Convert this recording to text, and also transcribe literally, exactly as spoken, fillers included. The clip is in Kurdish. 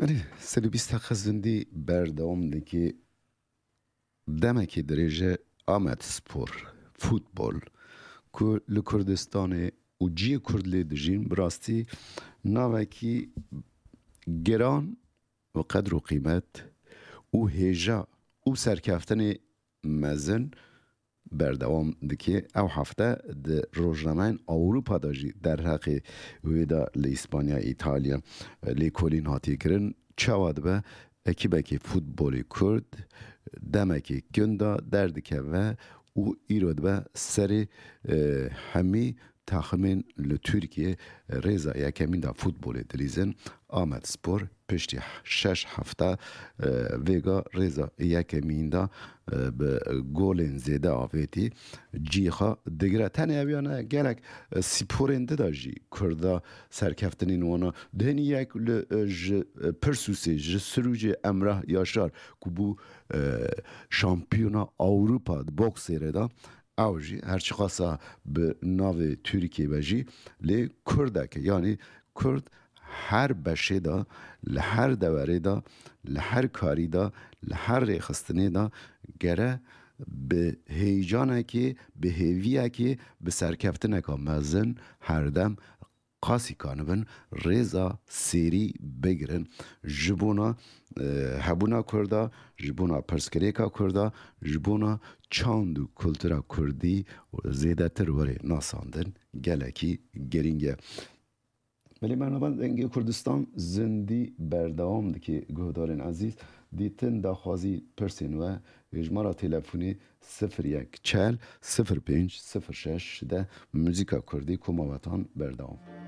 Belê, serî bîst deqe zindî berdewam dike. Demekê dirêje Amed Spor, futbol, ku li Kurdistanê û ciyê Kurd lê dijîn, bi rastî navekî giran û qedr û qîmet û hêja û serkeftinê mezin berdewam dike. Ew hefte di rojnameyên Ewropa de jî derheqê wê de li Îspanya, Îtalya lêkolîn hatiye kirin. Çawa dibe ekîbekî futbolê Kurd demekê kin de derdikeve û îro dibe serê, e, hemî taximên li Tirkiyê rêza yekemîn de futbolê dilîzin. Amed Spor piştî şeş hefte, e, vêga rêza yekemîn de, e, bi golên zêde avêtî cî xwe digire. Tenê ew ya ne, gelek, e, sporên di de jî Kurda serkeftinên wana dihênî yek li, e, ji, e, Pirsûsê, ji Sirûcê Emrah Yaşar ku bû, e, şampiyona Ewropa di boksê re de, ew jî her çiqasa bi navê Tirkiyê be jî lê Kurdek e. Yanî Kurd her beşê de, li her deverê de, li her karî de, li her rêxistinê de gere bi heyecanekê, bi hêviyekê, bi serkeftineka mezin herdem qasî kanibin rêza sêrî bigirin. Ji bona, e, hebûna Kurda, ji bona pirsgirêka Kurda, ji bona çand û kultura Kurdî zêdetir were nasandin gelekî girîng e. Belê, bernameya Dengê Kurdistan zindî berdewam dike. Guhdarên ezîz, dîtin, daxwazî, pirsên we, hêjmara telefonê sifir yek çel sifir pênc sifir şeş de, muzîka kurdî, koma wetan berdewam.